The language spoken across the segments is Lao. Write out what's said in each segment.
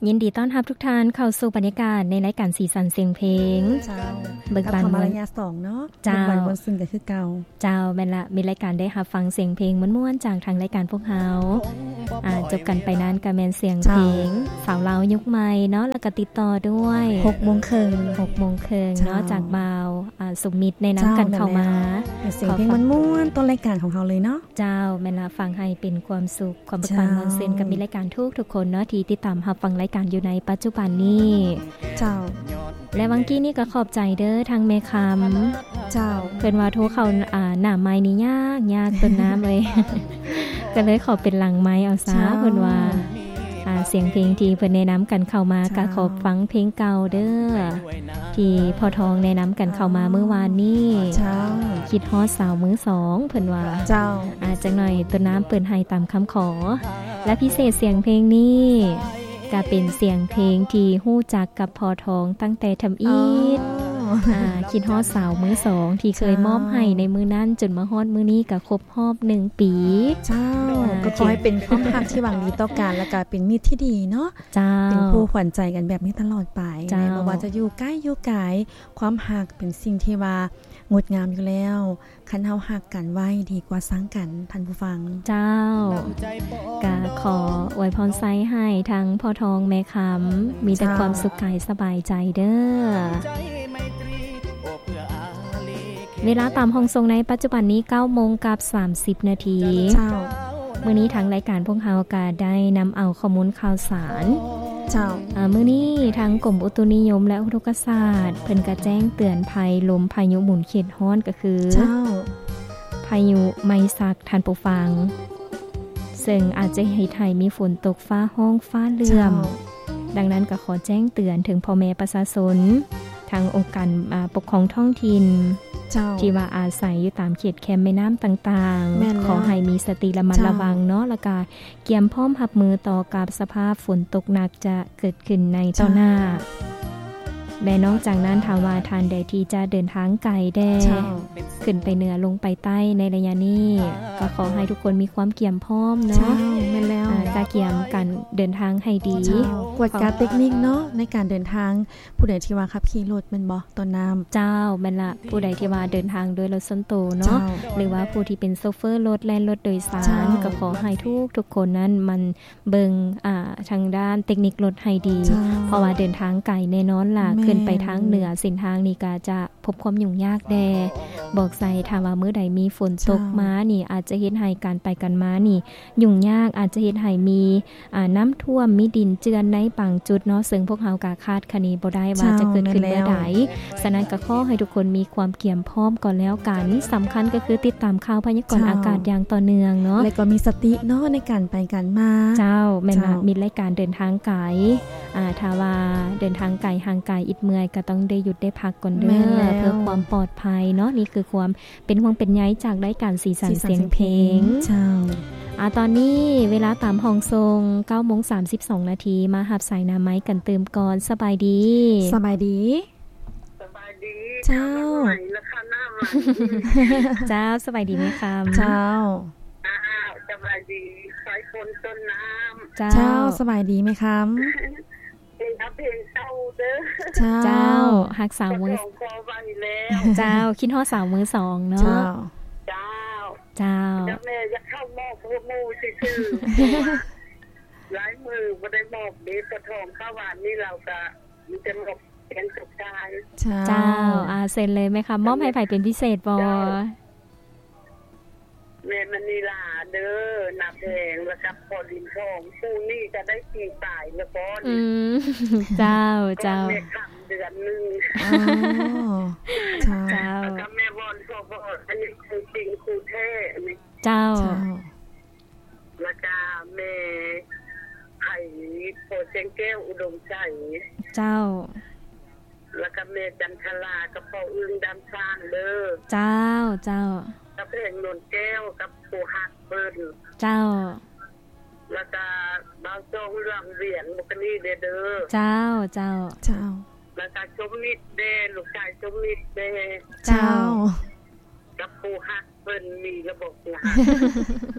ຍິນດີຕ້ອນຮັບທຸກທ່ານເຂົ້າສູ່ບັນຍາກາດໃນລາຍການສີສັນສຽງເພງ. ເຈົ້າ ເບີກບານ ກັບເຮົາມາລະຍະສອງເນາະ. ເຈົ້າ ເບີກບານມ່ວນຊື່ນກັນຄືເກົ່າ. ເຈົ້າ ແມ່ນລະ, ມີລາຍການໄດ້ຮັບຟັງສຽງເພງມ່ວນໆຈາກທາງລາຍການພວກເຮົາ. ອ່າ ຈົບກັນໄປນັ້ນກໍແມ່ນສຽງເພງ ເຈົ້າ ສາວລາວຍຸກໃໝ່ເນາະ, ແລ້ວກໍຕິດຕໍ່ດ້ວຍ ຫົກໂມງເຄິ່ງ ຫົກໂມງເຄິ່ງເນາະ ເຈົ້າ ຈາກບ່າວ ອ່າ ສຸມິດແນະນຳກັນເຂົ້າມາ. ເຈົ້າ ແມ່ນແລ້ວ ເປັນສຽງເພງມ່ວນໆຕົ້ນລາຍການຂອງເຮົາເລີຍເນາະ. ເຈົ້າ ແມ່ນລະ, ຟັງໃຫ້ເປັນຄວາມສຸກ ຄວາມເບີກບານ ເຈົ້າ ມ່ວນຊື່ນກັບມິດລາຍການທຸກໆຄົນເນາະ ທີ່ຕິດຕາມຮັບຟັງລາຍການຢູ່ໃນປັດຈຸບັນນີ້. ເຈົ້າ ແລະ ຫວ່າງກີ້ນີ້ກໍຂອບໃຈເດີທາງແມ່ຄຳ. ເຈົ້າ ເພິ່ນວ່າໂທເຂົ້າ ອ່າ ໜ້າໄມນີ້ຍາກໆ ຕົ້ນນ້ຳເອີຍ ກໍເລີຍຂໍເປັນຫຼັງໄມເອົາຊະ. ເຈົ້າ ເພິ່ນວ່າ ອ່າ ສຽງເພງທີ່ເພິ່ນແນະນຳກັນເຂົ້າມາ ເຈົ້າ ກໍຂໍຟັງເພງເກົ່າເດີ ທີ່ພໍ່ທອງແນະນຳກັນເຂົ້າມາມື້ວານນີ້. ເຈົ້າ ຄິດຮອດສາວມືສອງ ເພິ່ນວ່າ. ເຈົ້າ ອ່າ ຈັກໜ້ອຍຕົ້ນນ້ຳເປີດໃຫ້ຕາມຄຳຂໍ. ແລະ ພິເສດສຽງເພງນີ້ກະເປັນສຽງເພງທີ່ຮູ້ຈັກກັບພໍ່ທອງຕັ້ງແຕ່ທຳອິດ. ອໍ ອ່າ ຄິດຮອດສາວມືສອງທີ່ເຄີຍ ເຈົ້າ ມອບໃຫ້ໃນມື້ນັ້ນ ຈົນມາຮອດມື້ນີ້ກະຄົບຮອບໜຶ່ງປີ. ເຈົ້າ ອ່າ ກໍຂໍໃຫ້ເປັນຄວາມຮັກທີ່ຫວັງດີຕໍ່ກັນ ແລ້ວກະເປັນມິດທີ່ດີເນາະ. ເຈົ້າ ເປັນຄູ່ຂວັນໃຈກັນແບບນີ້ຕະຫຼອດໄປ. ເຈົ້າ ບໍ່ວ່າຈະຢູ່ໃກ້ຢູ່ໄກ ຄວາມຮັກເປັນສິ່ງທີ່ວ່າງົດງາມຢູ່ແລ້ວ. ຄັນເຮົາຮັກກັນໄວ້ດີກວ່າຊັງກັນ ທ່ານຜູ້ຟັງ. ເຈົ້າ ກະຂໍອວຍພອນໄຊໃຫ້ທັງພໍ່ທອງແມ່ຄຳ ມີແຕ່ ເຈົ້າ ຄວາມສຸກກາຍສະບາຍໃຈເດີ. ເວລາຕາມຫ້ອງສົ່ງໃນປັດຈຸບັນນີ້ ເກົ້າໂມງກັບສາມສິບນາທີ. ເຈົ້າ ມື້ນີ້ທາງລາຍການພວກເຮົາກະໄດ້ນຳເອົາຂໍ້ມູນຂ່າວສານ. ເຈົ້າ ອາ ມື້ນີ້ທາງກົມອຸຕຸນິຍົມ ແລະ ອຸທົກກະສາດ ເພິ່ນກະແຈ້ງເຕືອນໄພລົມພາຍຸໝູນເຂດຮ້ອນ ກໍຄື ເຈົ້າ ພາຍຸໄມຊັກ ທ່ານຜູ້ຟັງ, ເຊິ່ງອາດຈະເຮັດໃຫ້ມີຝົນຕົກ ຟ້າຮ້ອງ ຟ້າເຫຼື້ອມ. ເຈົ້າ ດັ່ງນັ້ນກໍຂໍແຈ້ງເຕືອນເຖິງພໍ່ແມ່ປະຊາຊົນ ທາງອົງການ ອາ ປົກຄອງທ້ອງຖິ່ນ ເຈົ້າ ທີ່ວ່າອາໄສຢູ່ຕາມເຂດແຄມແມ່ນ້ຳຕ່າງໆ ແມ່ນແລ້ວ ຂໍໃຫ້ມີສະຕິລະມັດລະວັງເນາະ ເຈົ້າ ແລ້ວກະກຽມພ້ອມຮັບມືຕໍ່ກັບສະພາບຝົນຕົກໜັກຈະເກີດຂຶ້ນໃນຕໍ່ໜ້າ. ເຈົ້າ ແລະ ນອກຈາກນັ້ນ ຖ້າວ່າທ່ານໃດທີ່ຈະເດີນທາງໄກແດ່ ເຈົ້າ ຂຶ້ນໄປເໜືອລົງໄປໃຕ້ໃນໄລຍະນີ້ ກໍຂໍໃຫ້ທຸກຄົນມີຄວາມກຽມພ້ອມເນາະ. ເຈົ້າ ແມ່ນແລ້ວ ອາ ກະກຽມການເດີນທາງໃຫ້ດີ. ເຈົ້າ ກວດກາເຕັກນິກເນາະ ໃນການເດີນທາງ. ຜູ້ໃດທີ່ວ່າຂັບຂີ່ລົດແມ່ນບໍ່ ຕົ້ນນ້ຳ? ເຈົ້າ ແມ່ນລະ, ຜູ້ໃດທີ່ວ່າເດີນທາງໂດຍລົດສ່ວນໂຕເນາະ ເຈົ້າ ຫຼືວ່າຜູ້ທີ່ເປັນໂຊເຟີລົດ ແລ່ນລົດໂດຍສານ ເຈົ້າ ກໍຂໍໃຫ້ທຸກໆຄົນນັ້ນໝັ່ນເບິ່ງ ອ່າ ທາງດ້ານເຕັກນິກລົດໃຫ້ດີ ເຈົ້າ ເພາະວ່າເດີນທາງໄກແນ່ນອນລະ ແມ່ນ ຂຶ້ນໄປທາງເໜືອ ເສັ້ນທາງນີ້ກໍຈະພົບຄວາມຫຍຸ້ງຍາກແດ່. ບອກໃສ່ ຖ້າວ່າມື້ໃດມີຝົນຕົກ ເຈົ້າ ມານີ້ ອາດຈະເຮັດໃຫ້ການໄປການມານີ້ຫຍຸ້ງຍາກ, ອາດຈະເຮັດໃຫ້ມີ ອ່າ ນ້ຳຖ້ວມ ມີດິນເຈື່ອນໃນບາງຈຸດເນາະ, ເຊິ່ງພວກເຮົາກະຄາດຄະເນບໍ່ໄດ້ວ່າ ເຈົ້າ ຈະເກີດຂຶ້ນເມື່ອໃດ. ແມ່ນແລ້ວ. ສະນັ້ນກະຂໍໃຫ້ທຸກຄົນມີຄວາມກຽມພ້ອມກໍແລ້ວກັນ. ສຳຄັນກໍຄືຕິດຕາມຂ່າວພະຍາກອນ ເຈົ້າ ອາກາດຢ່າງຕໍ່ເນື່ອງເນາະ ແລະກໍມີສະຕິເນາະ ໃນການໄປການມາ. ເຈົ້າ ແມ່ນລະ. ເຈົ້າ ມີລາຍການເດີນທາງໄກ ອ່າ ຖ້າວ່າເດີນທາງໄກ ຫ່າງໄກ ອິດເມື່ອຍ ກໍຕ້ອງໄດ້ຢຸດໄດ້ພັກກ່ອນເດີ ແມ່ນແລ້ວ ເພື່ອຄວາມປອດໄພເນາະ. ນີ້ຄືຄວາມ ເປັນຫ່ວງເປັນໃຍຈາກລາຍການສີສັນສຽງເພງ. ເຈົ້າ ອາ ຕອນນີ້ເວລາຕາມຫ້ອງສົ່ງ ເກົ້າໂມງສາມສິບສອງນາທີ ມາຮັບສາຍໜ້າໄມ້ກັນຕື່ມກ່ອນ. ສະບາຍດີ. ສະບາຍດີ. ສະບາຍດີ. ເຈົ້າ. ເຈົ້າ ສະບາຍດີແມ່ຄຳ. ເຈົ້າ. ສະບາຍດີສາຍຝົນຕົ້ນນ້ຳ. ເຈົ້າ. ເຈົ້າ ສະບາຍດີແມ່ຄຳ. ເພງເກົ່າເດີ. ເຈົ້າ. ເຈົ້າ ຮັກສາວເມືອງ ຂໍໄວ້ແລ້ວ. ເຈົ້າ ຄິດຮອດສາວມືສອງເນາະ. ເຈົ້າ. ເຈົ້າ. ເຈົ້າ. ແມ່ຢາກເຂົ້າມອບຫົວໝູ່ຊື່ໆ ຫຼາຍມື້ບໍ່ໄດ້ມອບເດ້. ປະທອງຂ້າວຫວານນີ້ລາວກະມີແຕ່ມອບແກງຕົກຊາຍ. ເຈົ້າ. ເຈົ້າ ອາ ເຊີນເລີຍແມ່ຄຳ. ມອບໃຫ້ໃຜເປັນພິເສດບໍ່? ເຈົ້າ. ແມ່ມະນີລາເດີ ນາແພງ ແລ້ວກັບພໍ່ລິນທອງ. ຄູ່ນີ້ກະໄດ້ປີປາຍແລ້ວກໍ. ອືມ ເຈົ້າ ເຈົ້າ. ແມ່ຄຳເດືອນໜຶ່ງ. ອໍ ເຈົ້າ. ເຈົ້າ. ແລ້ວກະແມ່ວອນ ພໍ່ວອນ ອັນນີ້ຄູ່ຈິງຄູ່ແທ້ອັນນີ້. ເຈົ້າ. ເຈົ້າ. ແລ້ວກະແມ່ໄພ ພໍ່ແສງແກ້ວ ອຸດົມໄຊ. ເຈົ້າ. ແລ້ວກໍແມ່ຈັນທະລາກັບພໍ່ອຶ່ງດຳຊ້າງເດີ. ເຈົ້າ ເຈົ້າ. ກັບແພງນວນແກ້ວກັບຜູ້ຮັກເພິ່ນ. ເຈົ້າ. ແລ້ວກໍບ່າວຊອງເລື່ອງວຽງ ໝູ່ກະນີ້ເດີ. ເຈົ້າ ເຈົ້າ. ເຈົ້າ. ແລ້ວກໍສົມມິດເດ້ ລູກຊາຍສົມມິດເດ້. ເຈົ້າ. ເຈົ້າ. ກັບຜູ້ຮັກເພິ່ນມີລະບົບຜູ້ຮັກ.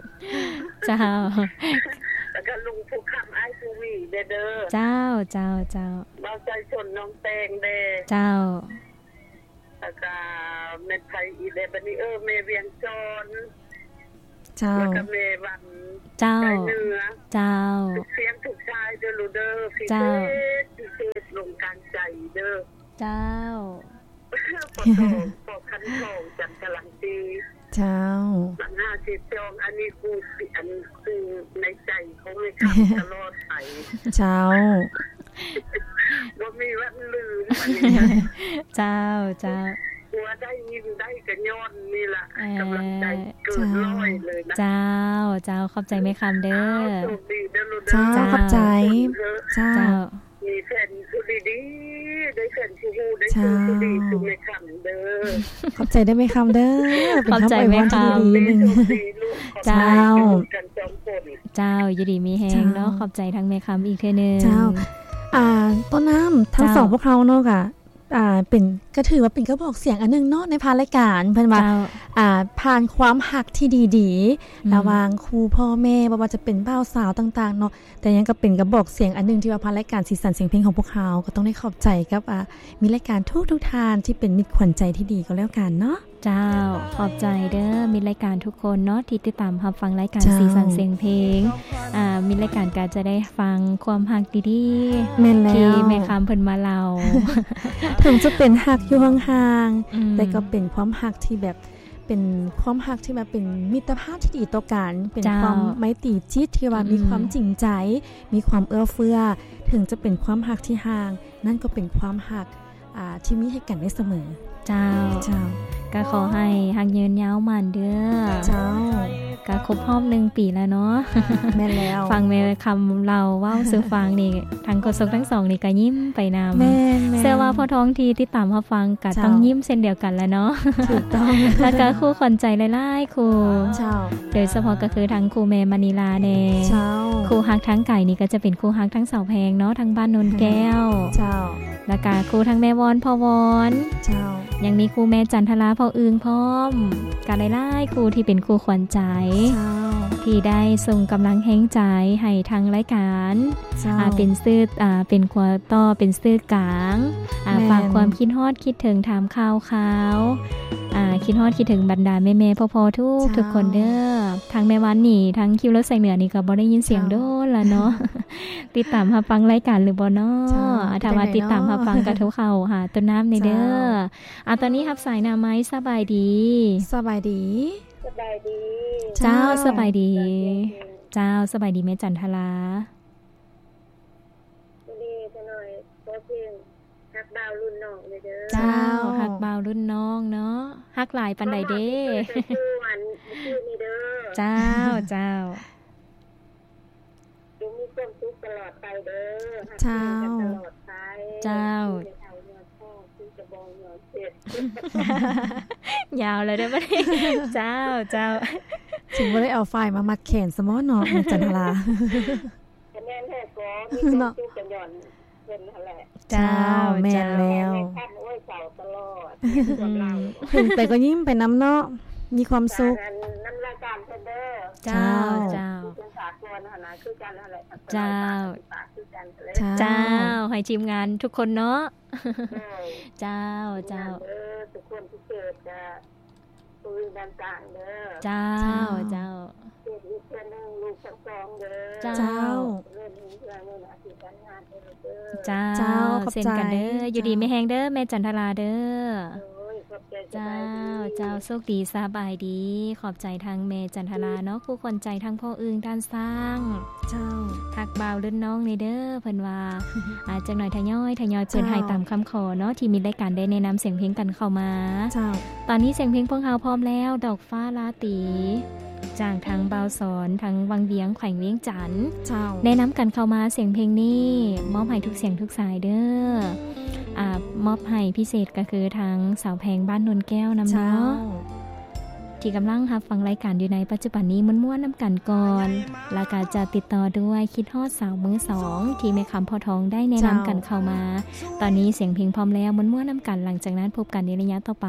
ເຈົ້າ. ແລ້ວກໍລຸງຜູ້ຄຳ ອ້າຍຜູ້ມີເ ເດີ. ເຈົ້າ ເຈົ້າ ເຈົ້າ. ບ່າວໄຊຊົນ ນ້ອງແຕງເດ້. ເຈົ້າ. ແລ້ວກະແມ່ນໃຜອີກເດ້ບັດນີ້? ເອີ ແມ່ວຽງສອນ. ເຈົ້າ. ແລ້ວກະແມ່ວັນ. ເຈົ້າ. ໄຊເໜືອ. ເຈົ້າ. ທຸກສຽງທຸກສາຍເດີລູກເດີ. ເຈົ້າ. ພິເສດ ພິເສດລົງກາງໃຈເດີ. ເຈົ້າ. ພໍ່ທອງ ພໍ່ຄັນທອງ ຈັນທະລັງສີ. ເຈົ້າ. ບັນຫາສິດສອງ ອັນນີ້ຄື ອັນ ຄືໃນໃຈຂອງແມ່ຄຳຕະຫຼອດໄປ. ເຈົ້າ. ບໍ່ມີວັນລືມອັນນີ້ນະ. ເຈົ້າ ເຈົ້າ. ຫົວໄດ້ຍິນໄດ້ກະຍ້ອນນີ້ລະ ເອີ ກຳລັງໃຈເກີນຮ້ອຍເລີຍນະ. ເຈົ້າ ເຈົ້າ ຂອບໃຈແມ່ຄຳເດີ. ໂຊກດີເດີລູກເດີ. ເຈົ້າ ຂອບໃຈ. ເຈົ້າ. ເຈົ້າ. ມີແຟນຜູ້ດີໆ ໄດ້ແຟນຜູ້ຮູ້ ໄດ້ ເຈົ້າ ຜູ້ດີຄືແມ່ຄຳເດີ. ຂອບໃຈເດີແມ່ຄຳເດີ. ເປັນຄຳອວຍພອນທີ່ດີໆ ໜຶ່ງ. ເຈົ້າ. ເຈົ້າ ຢູ່ດີມີແຮງເນາະ. ເຈົ້າ. ຂອບໃຈທັງແມ່ຄຳອີກເທື່ອໜຶ່ງ. ເຈົ້າ. ອາ ຕົ້ນນ້ຳ ທັງ ເຈົ້າ ສອງພວກເຮົາເນາະ ກະ ອາ ເປັນ ກະຖືວ່າເປັນກະບອກສຽງອັນໜຶ່ງເນາະ ໃນຜ່ານລາຍການ ເພິ່ນວ່າ ເຈົ້າ ອາ ຜ່ານຄວາມຮັກທີ່ດີໆ ອືມ ລະຫວ່າງຄູ່ພໍ່ແມ່ ບໍ່ວ່າຈະເປັນບ່າວສາວຕ່າງໆເນາະ. ແຕ່ຍັງກະເປັນກະບອກສຽງອັນໜຶ່ງ ທີ່ວ່າຜ່ານລາຍການສີສັນສຽງເພງຂອງພວກເຮົາ ກະຕ້ອງໄດ້ຂອບໃຈກັບ ອາ ມິດລາຍການທຸກໆທ່ານ ທີ່ເປັນມິດຂວັນໃຈທີ່ດີກໍແລ້ວກັນເນາະ. ເຈົ້າ. ຂອບໃຈເດີ ມິດລາຍການທຸກຄົນເນາະ ທີ່ຕິດຕາມຮັບຟັງລາຍການ ເຈົ້າ ສີສັນສຽງເພງ. ອາ ມິດລາຍການກະຈະໄດ້ຟັງຄວາມຮັກດີໆ ແມ່ນແລ້ວ ທີ່ແມ່ຄຳເພິ່ນມາເລົ່າ. ເຖິງຈະເປັນຮັກຢູ່ຫ່າງໆ ອືມ ແຕ່ກໍເປັນຄວາມຮັກທີ່ແບບ ເປັນຄວາມຮັກທີ່ແບບເປັນມິດຕະພາບທີ່ດີຕໍ່ກັນ ເປັນ ເຈົ້າ ຄວາມໄມຕີຈິດທີ່ວ່າ ອືມ ມີຄວາມຈິງໃຈ ມີຄວາມເອື້ອເຟື້ອ. ເຖິງຈະເປັນຄວາມຮັກທີ່ຫ່າງ ນັ້ນກໍເປັນຄວາມຮັກ ອາ ທີ່ມີໃຫ້ກັນໄດ້ສະເໝີ. ເຈົ້າ. ເຈົ້າ. ກະຂໍໃຫ້ຮັກຍືນຍາວໝັ້ນເດີ. ເຈົ້າ. ກະຄົບຮອບໜຶ່ງປີແລ້ວເນາະ. ແມ່ນແລ້ວ. ຟັງແມ່ຄຳເລົ່າເວົ້າສູ່ຟັງນີ້ ທັງໂຄສົກທັງສອງນີ້ກະຍິ້ມໄປນຳ. ແມ່ນໆ. ເຊື່ອວ່າພໍ່ທອງທີ່ຕິດຕາມຮັບຟັງກະ ເຈົ້າ ຕ້ອງຍິ້ມເຊັ່ນດຽວກັນລະເນາະ. ຖືກຕ້ອງ. ແລ້ວກະຄູ່ຂວັນໃຈຫຼາຍໆຄູ່. ເຈົ້າ. ໂດຍສະເພາະກະຄືທັງຄູ່ແມ່ມະນີລາແດ່. ເຈົ້າ. ຄູ່ຮັກທາງໄກນີ້ກະຈະເປັນຄູ່ຮັກທັງສາວແພງເນາະ ທາງບ້ານໂນນແກ້ວ. ເຈົ້າ. ແລ້ວກະຄູ່ທັງແມ່ວອນ ພໍ່ວອນ. ເຈົ້າ. ຍັງມີຄູ່ແມ່ຈັນທະລາ ພໍ່ອຶ່ງພ້ອມ ກະຫຼາຍໆຄູ່ທີ່ເປັນຄູ່ຂວັນໃຈ. ເຈົ້າ. ທີ່ໄດ້ສົ່ງກຳລັງແຮງໃຈໃຫ້ທາງລາຍການ. ເຈົ້າ. ອາ ເປັນສື່ ອາ ເປັນຂົວຕໍ່ ເປັນສື່ກາງ ອາ ແມ່ນ ຝາກຄວາມຄິດຮອດຄິດເຖິງ ຖາມຂ່າວຄາວ ອາ ຄິດຮອດຄິດເຖິງບັນດາແມ່ໆ ພໍ່ໆ ທຸກ ເຈົ້າ ທຸກຄົນເດີ. ທາງແມ່ວັນນີ້ ທາງຄິວລົດສາຍເໜືອນີ້ກະບໍ່ໄດ້ຍິນສຽງ ເຈົ້າ ດົນລະເນາະ. ຕິດຕາມຮັບຟັງລາຍການຫຼືບໍ່ເນາະ? ເຈົ້າ. ຖ້າວ່າຕິດຕາມຮັບຟັງກະໂທເຂົ້າຫາຕົ້ນນ້ຳແດ່ເດີ. ເຈົ້າ. ອາ ຕອນນີ້ຮັບສາຍໜ້າໄມ. ສະບາຍດີ. ສະບາຍດີ. ສະບາຍດີ. ເຈົ້າ. ເຈົ້າ ສະບາຍດີ. ເຈົ້າ ສະບາຍດີແມ່ຈັນທະລາ. ດີຈັກໜ້ອຍ ຂໍເພງຮັກບ່າວລຸ້ນນ້ອງແດ່ເດີ. ເຈົ້າ. ເຈົ້າ ຮັກບ່າວລຸ້ນນ້ອງເນາະ. ຮັກຫຼາຍປານໃດເດ້? ເຈົ້າ ເຈົ້າ. ຈົ່ງມີຄວາມສຸກຕະຫຼອດໄປເດີ. ເຈົ້າ. ຮັກກັນຕະຫຼອດໄປ. ເຈົ້າ. ຍາວແລ້ວເດີບັດນີ້. ເຈົ້າ ເຈົ້າ. ຊິບໍ່ໄດ້ເອົາຝ້າຍມາມັດແຂນຊະໝໍເນາະ ແມ່ຈັນທະລາ. ກະແມ່ນແທ້ ກະມີຄວາມສຸກກະຍ້ອນເພິ່ນຫັ້ນແຫຼະ. ເຈົ້າ. ເຈົ້າ ແມ່ນແລ້ວ. ແມ່ນແທ້ ໂອ້ຍ ເຊົາຕະຫຼອດ ຄວາມເລົ່າ. ເຫັນໄປກໍຍິ້ມໄປນຳເນາະ ມີຄວາມສຸກ. ນຳລາຍການເພິ່ນເດີ. ເຈົ້າ ເຈົ້າ. ເຈົ້າ. ເຈົ້າ ໃຫ້ທີມງານທຸກຄົນເນາະ. ເຈົ້າ ເຈົ້າ. ເຈົ້າ ເຈົ້າ. ເຈົ້າ ເຈົ້າ. ເຈົ້າ. ເຈົ້າ ເຊັ່ນກັນເດີ. ຢູ່ດີມີແຮງເດີ ແມ່ຈັນທະລາເດີ. ເຈົ້າ ເຈົ້າ. ໂຊກດີ ສະບາຍດີ. ຂອບໃຈທາງແມ່ຈັນທະລາເນາະ ຄູ່ຂວັນໃຈທັງພໍ່ອຶ່ງ ທ່ານຊ້າງ. ເຈົ້າ. ຮັກບ່າວລຸ້ນນ້ອງແດ່ເດີ ເພິ່ນວ່າ. ອາ ຈັກໜ້ອຍທະຍອຍ ທະຍອຍເປີດໃຫ້ຕາມຄຳຂໍເນາະ ທີ່ມິດລາຍການໄດ້ແນະນຳສຽງເພງກັນເຂົ້າມາ. ເຈົ້າ. ຕອນນີ້ສຽງເພງພວກເຮົາພ້ອມແລ້ວ ດອກຟ້າລາຕີ ຈາກທາງບ່າວສອນ ທາງວັງວຽງ ແຂວງວຽງຈັນ. ເຈົ້າ. ແນະນຳກັນເຂົ້າມາສຽງເພງນີ້ ມອບໃຫ້ທຸກສຽງທຸກສາຍເດີ. ອາ ມອບໃຫ້ພິເສດກະຄືທາງສາວແພງບ້ານໂນນແກ້ວນຳເນາະ. ເຈົ້າ. ທີ່ກຳລັງຮັບຟັງລາຍການຢູ່ໃນປັດຈຸບັນນີ້ ມ່ວນໆນຳກັນກ່ອນ ແລ້ວກະຈະຕິດຕໍ່ດ້ວຍຄິດຮອດສາວມືສອງ ທີ່ແມ່ຄຳພໍ່ທອງໄດ້ແນະນຳກັນເຂົ້າມາ. ເຈົ້າ. ຕອນນີ້ສຽງເພງພ້ອມແລ້ວ ມ່ວນໆນຳກັນ ຫຼັງຈາກນັ້ນພົບກັນໃນໄລຍະຕໍ່ໄປ.